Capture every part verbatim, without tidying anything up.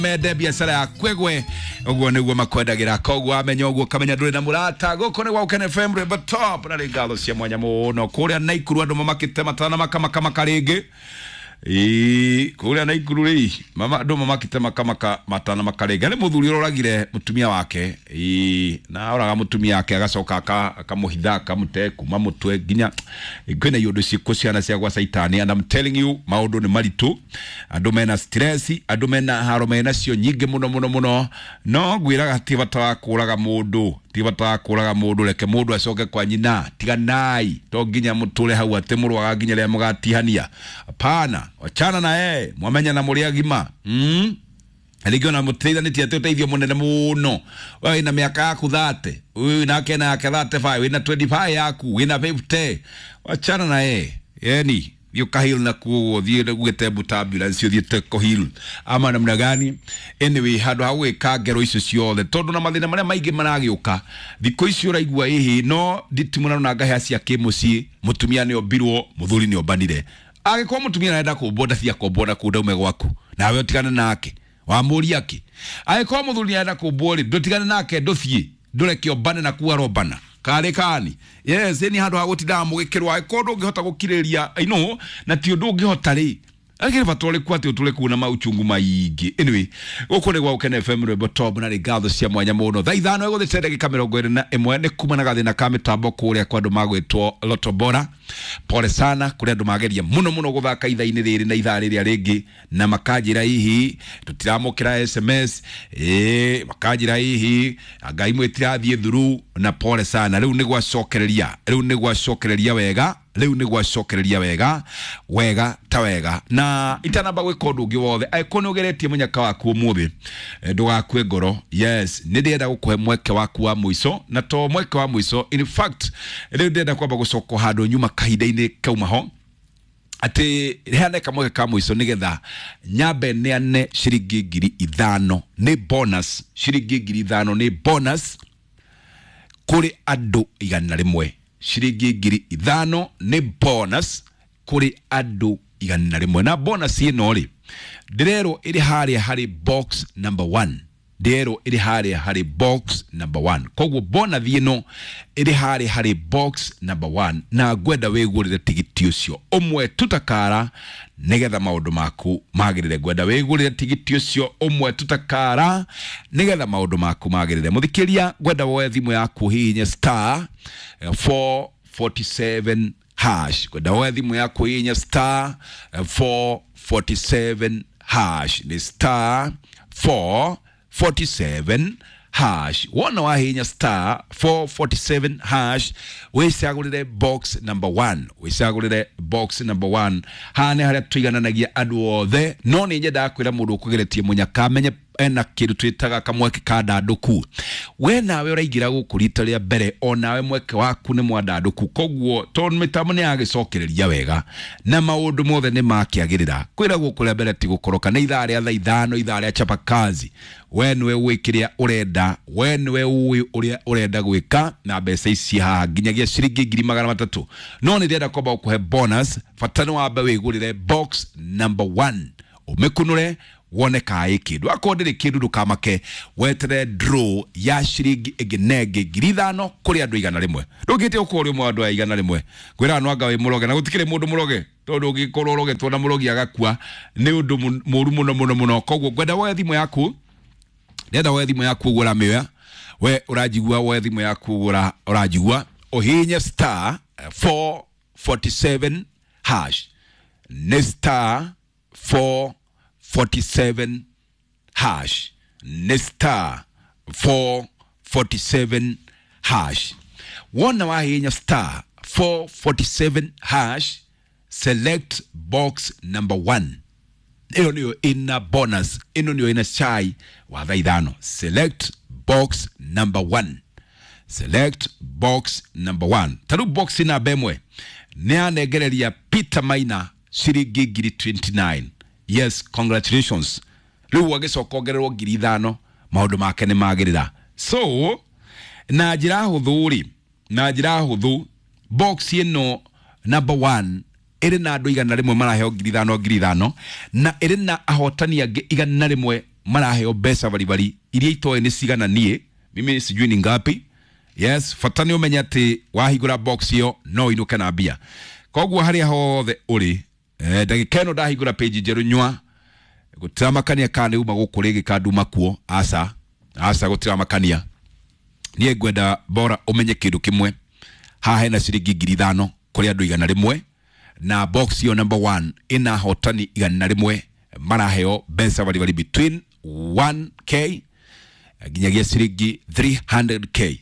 Mende biacara ya kwegwe uguo niguo makwendagira, koguo amenya uguo kamenya nduri na murata. Guku ni gwa Ukene F M Rwimbo Top, na ngatho cia mwanya muno kuria Naikuru andu mamakite matana makamakamaka ringi. Ii kuria Naikuru ri mama andu mamakite makamaka matana makaringa ni muthuri uroragire mutumia wake. Ii na oraga mutumia wake agacoka akamuhitha akamute kuma mutwe nginya kwina iundu ciku ciana cia gwa Saitani. And I'm telling you, maundu ni maritu, andu mena stress, andu mena haro, mena cio nyingi muno muno muno. No ngwiraga ti bata wa kuraga mundu, ti bata wa kuraga mundu, reke mundu acoke kwa nyina. Tiganai to nginya muture hau ati murwaga nginya ria mugatihania. Hapana, wachana na yeye, mwamenya na muri agima. Mm rĩngĩ ona mũteithanitie atĩ ũteithio mũnene mũno. We wĩna mĩaka yaku thirty, ũyũ nake na yake thirty-five, wĩna twenty-five yaku, wĩna fifty, wachana na yeye. Yani thiĩ ũkahil na kuo, thiĩ ũgĩte mbuta ambulance, ũthiĩte kũheal ama namna gani. Anyway, handũ ha gwĩka ngero icio ciothe, tondũ na mathĩna marĩa maingĩ maragĩũka thikũ ici ũraigua ĩhĩ no nditimũrano na ngahĩa cia kĩmũciĩ, mũtumia nĩ ombirwo, mũthuri nĩ ombanire. Angĩkorwo mũtumia arenda kũmbwo ndathia kũmbwo na kũu ndaume gwaku, nawe ũtigane nake wamũria kĩ. Angĩkorwo mũthuri arenda kũmbwo rĩ, ndũtigane nake, ndũthiĩ ndũreke ombane na kuu arombana karĩ kani. Yes, ni handũ ha gũtindaga mũgĩkĩrwo. Angĩkorwo ndũngĩhota gũkirĩrĩria, I know, na ti ũndũ ũngĩhota rĩ, akĩrĩ bata ũrĩkũ atĩ ũtũre kuo na mauchungu maingĩ. Anyway, gũkũ nĩ gwa Ukene F M Rwimbo Top, na ngatho cia mwanya mũno. Thaa ithano ĩgũthĩte ndagĩka mĩrongo ĩrĩ na ĩmwe nĩ kuma na gathĩna ka mĩtambo kũrĩa kwa andũ magwĩtwo Lotto Bora. Pole sana kũrĩa andũ mageria mũno mũno gũthaka ithaa-inĩ rĩrĩ na ithaa rĩrĩa rĩngĩ, na makanjĩra hihi tũtiramũkĩra S M S, ĩĩ makanjĩra hihi Ngai mwĩtirathiĩ thuru, na pole sana. Rĩu nĩ gwacokereria, rĩu nĩ gwacokereria wega, rĩu nĩ gwacokereria wega wega ta wega. Na itanamba gwĩka ũndũ ũngĩ wothe, angĩkorwo nĩ ũgeretie mũnyaka waku ũmũthĩ, ndũgakue ngoro. Yes, nĩ ndĩrenda gũkũhe mweke waku wa mũico, na to mweke wa mũico, in fact rĩu ndĩrenda kwamba gũcoka handũ nyuma kahinda-inĩ kauma ho, atĩ heane kamweke ka mũico nĩgetha nyambe neane ciringi ngiri ithano nĩ bonus, ciringi ngiri ithano nĩ bonus kũrĩ andũ igana rĩmwe. Ciringi ngiri ithano nĩ bonus kũrĩ andũ igana rĩmwe. Na bonus ĩno rĩ, ndĩrerwo ĩrĩ harĩa harĩ box number one, ndĩrerwo ĩrĩ harĩa harĩ box number one. Koguo bonus ĩno ĩrĩ harĩa harĩ box number one, na ngwenda wĩgũrĩre tigiti ũcio ũmwe tutakara nĩgetha maũndũ maku magĩrĩre. Ngwenda wĩgũrĩre tigiti ũcio ũmwe tutakara nĩgetha maũndũ maku magĩrĩre. Mũthikĩria, ngwenda woe thimũ yaku hihinye star four forty-seven hash. Ngwenda woe thimũ yaku hihinye star four forty-seven hash, ni star four forty-seven hash. Wona wahinya star four forty-seven hash, wicagũrĩre box number one, wicagũrĩre box number one. Haha nĩ harĩa tũigananagia andũ othe, no nĩ nyendaga kwĩra mũndũ ũkũgeretie mũnyaka amenye ena kĩndũ twĩtaga kamweke ka ndandũku. We nawe ũraingĩra gũkũ rita rĩa mbere, o nawe mweke waku nĩ mwandandũku. Koguo tondũ mĩtambo nĩ yagĩcokereria wega na maũndũ mothe nĩ makĩagĩrĩra, kwĩra gũkũ rĩa mbere ti gũkoroka. Nĩ ithaa rĩa thaa ithano, ithaa rĩa chapa kazi. We nĩwe ũĩ kĩrĩa ũrenda, we nĩwe ũĩ ũrĩa ũrenda gwĩka na mbeca ici haha nginyagia ciringi ngiri magana matatũ. No nĩ ndĩrenda kwamba gũkũhe bonus, bata nĩ wambe wĩgũrĩre box number one, ũmĩkunũre wone kaĩ kĩndũ. Akorwo ndĩrĩ kĩndũ ndũkamake, wetere draw ya ciringi ĩngĩ na ĩngĩ ngiri ithano kũrĩ andũ igana rĩmwe. Ndũngĩte ũkorwo ũrĩ ũmwe wa andũ aya igana rĩmwe, ngwĩraga no anga wĩ mũroge, na gũtikĩrĩ mũndũ mũroge, tondũ ũngĩkorwo ũrogetwo na mũrogi agakua nĩ ũndũ mũru mũno mũno mũno. Koguo ngwenda woe thimũ yaku, ndĩrenda woe thimũ yaku ũguo ũramĩoya, we ũranjigua, woe thimũ yaku ũguo ũranjigua, ũhihinye star four forty-seven hash, nĩ star four forty-seven hash, nĩ star four forty-seven hash. Wona wahihinya star four forty-seven hash, select box number one. Ĩyo nĩyo ĩna bonus, ĩno nĩyo ĩna chai wa thaa ithano. Select box number one, select box number one. Ta rĩu box namba ĩmwe nĩ yanengereria Peter Maina ciringi ngiri twenty-nine. Yes, congratulations. Rĩu agĩcoka ongererwo ngiri ithano, maũndũ make nĩ magĩrĩra. So na njĩra hũthũ rĩ, na njĩra hũthũ box ĩno number one ĩrĩ na andũ igana rĩmwe maraheo ngiri ithano ngiri ithano, na ĩrĩ na ahotani angĩ igana rĩmwe maraheo mbeca baribari iria itoĩ nĩ cigana. Niĩ mimi sijui ni ngapi. Yes, bata nĩ ũmenye atĩ wahingũra box ĩyo no ũinũke na mbia. Koguo harĩa hothe ũrĩ, eh, ndagĩka ĩno ndahingũra page njerũ nyua gũtiramakania kana nĩ uma gũkũ rĩngĩ kana nduma kuo, aca aca, gũtiramakania. Niĩ ngwenda bora ũmenye kĩndũ kĩmwe, haha hena ciringi ngiri ithano kũrĩ andũ igana rĩmwe, na box ĩyo number one ĩna hotani igana rĩmwe maraheo mbeca baribari between one k nginyagia ciringi three hundred k.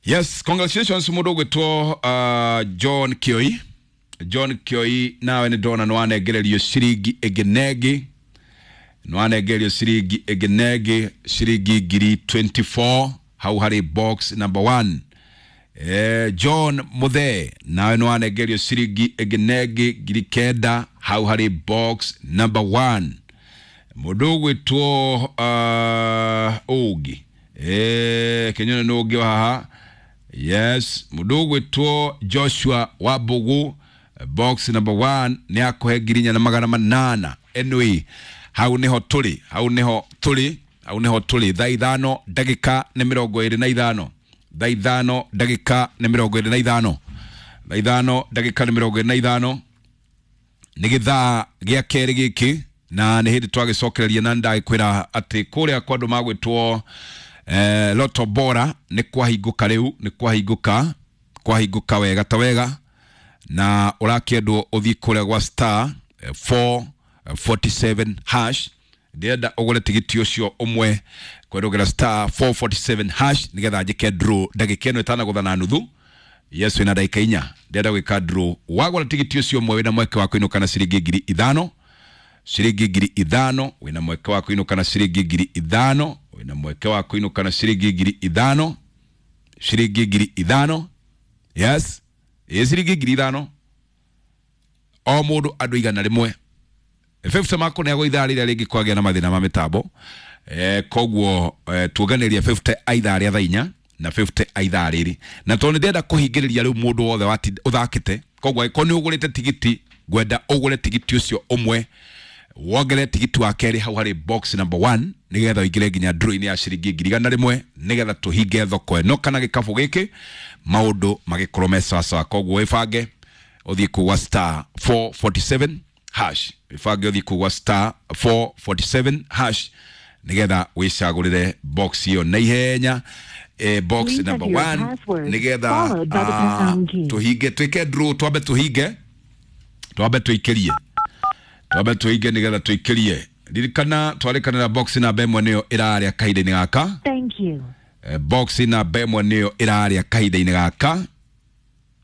Yes, congratulations mũndũ ũgwĩtwo uh, John Kioi. John Kioi, nawe nĩ ndona nĩ wanengererio ciringi ĩngĩ na ĩngĩ, nĩ wanengererio ciringi ĩngĩ na ĩngĩ, ciringi ngiri mĩrongo ĩĩrĩ na inya hau harĩ box number one. Eh, John Muthee, nawe nĩ wanengerio ciringi ĩngĩ na ĩngĩ, ngiri kenda hau harĩ box number one. Mũndũ ũgwĩtwo uh, ũngĩ, eh, kenyone nĩ ũngĩ wa haha. Yes, mũndũ ũgwĩtwo Joshua Wambugu, box number one nĩ akũhe ngiri inya na magana manana. Anyway, hau nĩho tũrĩ, hau nĩho tũrĩ, hau nĩho tũrĩ. Thaa ithano ndagĩka nĩ mĩrongo ĩrĩ na ithano, thaa ithano ndagĩka nĩ mĩrongo ĩrĩ na ithano, thaa ithano ndagĩka nĩ mĩrongo ĩrĩ na ithano, nĩ gĩthaa gĩa kerĩ gĩkĩ, na nĩ hĩndĩ twagĩcokereria, na ndagĩkwĩra atĩ kũrĩa kwa andũ magwĩtwo eh, Loto Bora nĩ kwahingũka rĩu, nĩ kwahingũka, kwahingũka wega ta wega, na ũrakĩendwo ũthiĩ kũrĩa gwa star eh, four forty-seven hash. Ndĩrenda ũgũre tigiti ũcio ũmwe kwerũgĩra star four forty-seven hash nĩgetha njĩke draw ndagĩka ĩno ĩtanagũtha na nuthu. Yes, wĩna ndagĩka inya, ndĩrenda gwĩka draw. Wagũra tigiti ũcio ũmwe, wĩna mweke wa kũinũka na ciringi ngiri ithano, ciringi ngiri ithano. Wĩna mweke wa kũinũka na ciringi ngiri ithano, wĩna mweke wa kũinũka na ciringi ngiri ithano, ciringi ngiri ithano. Yes, ĩ ciringi ngiri ithano o mũndũ, andũ igana rĩmwe, fifty makũneagwo ithaa rĩrĩa rĩngĩ kwagĩa na mathĩna ma mĩtambo. eh, koguo eh, tuonganĩria fifty a ithaa rĩa thaa inya na fifty a ithaa rĩrĩ, na tondũ nĩ ndĩrenda kũhingĩrĩria rĩu mũndũ wothe wati- ũthakĩte. Koguo angĩkorwo nĩ ũgũrĩte tigiti, ngwenda ũgũre tigiti ũcio ũmwe, wongerere tigiti wa kerĩ hau harĩ box number one, nĩgetha ũingĩre nginya draw-inĩ ya ciringi ngiri igana rĩmwe, nĩgetha tũhinge thoko ĩno kana gĩkabũ gĩkĩ, maũndũ magĩkorwo me sawasawa. Koguo wĩbange ũthiĩ kũgwa star four forty-seven hash, wĩbange ũthiĩ kũgwa star four forty-seven hash, nĩgetha wĩcagũrĩre box ĩyo na ihenya, eh, box Please number enter your one, password, nĩgetha followed by the ah, pound key. tũhinge, twĩke draw, twambe tũhinge, twambe tũikĩrie, twambe tũhinge nĩgetha tũikĩrie. Ririkana twarĩkanĩra box namba ĩmwe nĩyo ĩrarĩa kahinda-inĩ gaka. Thank you. Eh, box namba ĩmwe nĩyo ĩrarĩa kahinda-inĩ gaka,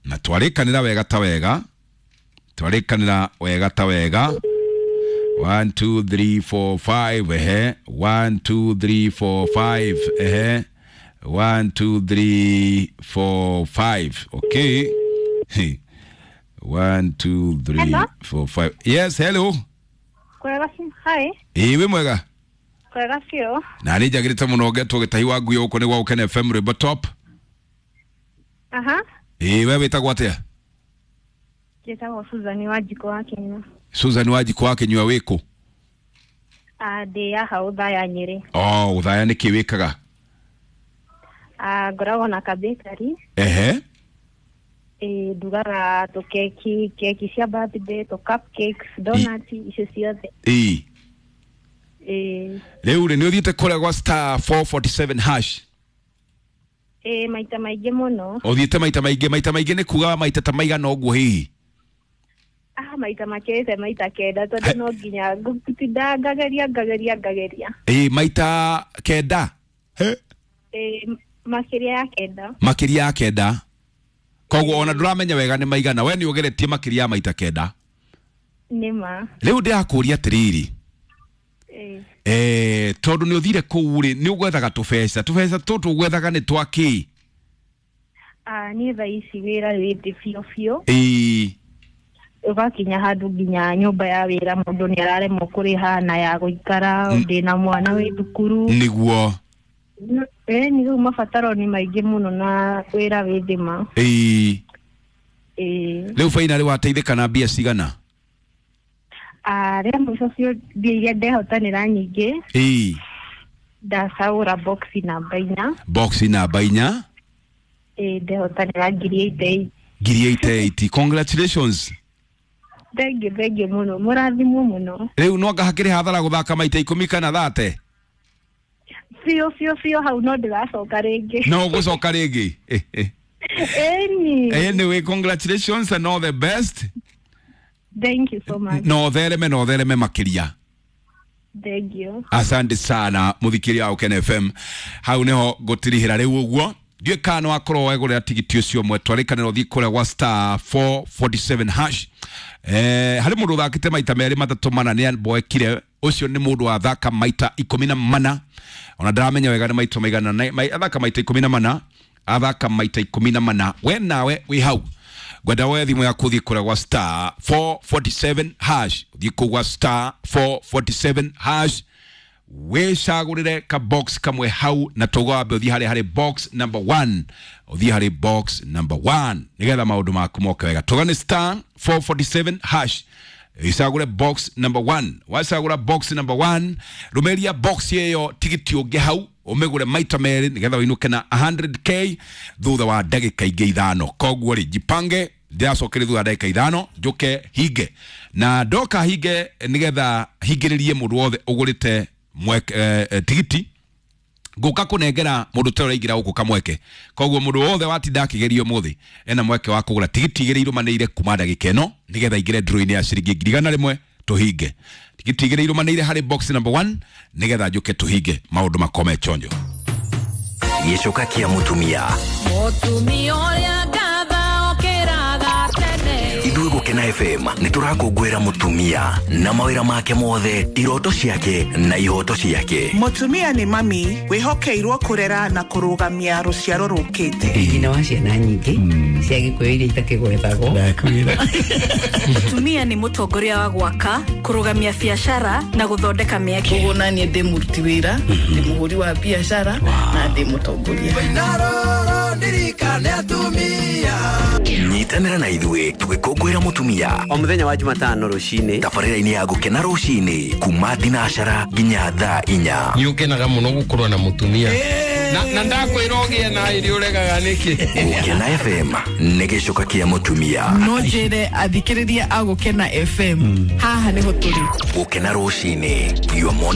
na twarĩkanĩra wega ta wega, twarĩkanĩra wega ta wega. one two three four five, ehe, one two three four five, ehe, one two three four five, okay. one two three Hello? four five. Yes, hello. Kwega ci- hi. Ĩĩ, wĩ mwega? Kwega biũ. Na nĩ njagĩrĩte mũno ngetwo gĩtahi wa ngui gũkũ nĩ gwa Gũkena F M rwĩmbo top. Aha. Ĩĩ, we wĩtagwo atĩa? Njĩtagwo Susan wa Njikũ wa Kĩnyua. Susan wa Njikũ wa Kĩnyua, wĩkũ? Ah, ndĩ haha Ũthaya, Nyĩrĩ. Oh, Ũthaya. Nĩ kĩ wĩkaga? Ah, ngoragwo na kabekari. Ehe. Ĩ ndugaga tũkeki, keki cia birthday, tũ cupcakes, donuts, icio ciothe. Ĩĩ. Ĩ. Rĩu rĩ, nĩ ũthiĩte kũrĩa gwa star four forty-seven hash? Ĩ, maita maingĩ mũno. Ũthiĩte maita maingĩ? Maita maingĩ nĩ kuga maita ta maigana ũguo hihi? Ah, maita makĩrĩte maita kenda, tondũ no nginya ngũtinda ngageria, ngageria, ngageria. Ĩĩ, maita kenda? He? Ĩ, makĩria ya kenda. Makĩria ya kenda. Koguo ona ndũramenya wega nĩ maigana, we nĩ ũgeretie makĩria ya maita kenda. Nĩ ma. Rĩu ndĩrakũria atĩrĩrĩ, Ĩ. eh, tondũ nĩ ũthire kũu rĩ, nĩ ũgwethaga tũbeca, tũbeca tũtũ ũgwethaga nĩ twa kĩ? Ah, niĩ thaa ici wĩra wĩ thĩ biũ biũ. Ĩĩ. Ũgakinya handũ nginya nyũmba ya wĩra mũndũ nĩ araremwo kũrĩha na ya gũikara, ndĩna mwana wĩ thukuru. Nĩguo. Ĩ, nĩ rĩu mabataro nĩ maingĩ mũno na wĩra wĩ thĩ ma. Ĩĩ. Ĩ. Rĩu finally wateithĩka na mbia cigana? Ah, rĩa mũico biũ mbia iria ndehotanĩra nyingĩ Ĩĩ. ndacagũra box namba inya. Box namba inya. Ĩĩ, ndehotanĩra ngiri eighty eight. Ngiri eighty eight. Congratulations. Thengiũ, thengiũ mũno, mũrathimwo mũno. Rĩu no anga hakĩrĩ hathara gũthaka maita ikũmi kana thate? Biũ biũ biũ, hau no ndĩracoka rĩngĩ. No ũgũcoka rĩngĩ. Ĩni. Anyway, congratulations and all the best. Thank you so much. No thereme, no thereme makĩria. Thank you. Asante sana mũthikĩria wa Ũkene F M. Hau nĩho ngũtirihĩra rĩu ũguo. Ndiũĩ kana no akorwo wegũrĩra tigiti ũcio ũmwe, twarĩkanĩra ũthiĩ kũrĩa gwa star four forty-seven hash. Eh, harĩ mũndũ ũthakĩte maita merĩ matatũ mana nĩ amboekire. Ũcio nĩ mũndũ wathaka maita ikũmi na mana. Ona ndaramenya wega nĩ maita maigana, na, mai, athaka maita ikũmi na mana, athaka maita ikũmi na mana. We nawe wĩ hau, ngwenda woe thimũ yaku ũthiĩ kũrĩa gwa star four forty-seven hash. Ũthiĩ kũu gwa star four forty-seven hash, wĩcagũrĩre ka box kamwe hau, na tũgo wambe ũthiĩ harĩa harĩ box number one. Ũthiĩ harĩ box number one nĩgetha maũndũ maku moke wega. Tũga nĩ star four forty-seven hash, icagũre box number one. Wacagũra box number one, rũmĩrĩria box ĩyo tigiti ũngĩ hau, ũmĩgũre maita merĩ nĩgetha ũinũke na hundred K thutha wa ndagĩka ingĩ ithano. Koguo rĩ, jipange, ndĩracokere thutha wa ndagĩka ithano njũke hinge, na ndoka hinge nĩgetha hingĩrĩrie mũndũ wothe ũgũrĩte mweke, eh, eh, tigiti ngũka kũnengera mũndũ ta ũraingĩra gũkũ kamweke. Koguo mũndũ wothe watinda akĩgerio ũmũthĩ ena mweke wa kũgũra tigiti igĩrĩ irũmanĩire kuma ndagĩka ĩno nĩgetha aingĩre draw-inĩ ya ciringi ngiri igana rĩmwe tũhinge. Tigiti igĩrĩ irũmanĩire harĩ box number one nĩgetha njũke tũhinge maũndũ makome chonjo. Gĩcoka kĩa mũtumia. Mũtumia ũrĩa ngatha okĩraga tene. Ithuĩ Gũkena F M nĩ tũrakũngũĩra mũtumia na mawĩra make mothe, iroto ciake na ihoto ciake. Mũtumia nĩ mami wĩhokeirwo kũrera na kũrũgamia rũciaro rũkĩte. Nyina wa ciana nyingĩ cia Gĩkũyũ iria itakĩgwetagwo. Ndakwĩra. Mũtumia nĩ mũtongoria wa gwaka, kũrũgamia biacara na gũthondeka mĩeke. Ũguo naniĩ ndĩ mũruti wĩra, ndĩ mũhũri wa biacara na ndĩ mũtongoria. Nyitanĩra na ithuĩ tũgĩkũngũĩra mũtumia o mũthenya wa Jumatano rũcinĩ, tabarĩra-inĩ ya Gũkena rũcinĩ kuma thinacara nginya thaa inya. Nĩ ũkenaga mũno gũkorwo na mũtumia. Na, na ndakwĩra ũgĩe na irio ũregaga nĩkĩ? Gũkena F M nĩ gĩcoka kĩa mũtumia. No njĩre athikĩrĩria a Gũkena F M, haha nĩho tũrĩ. Gũkena rũcinĩ, your morning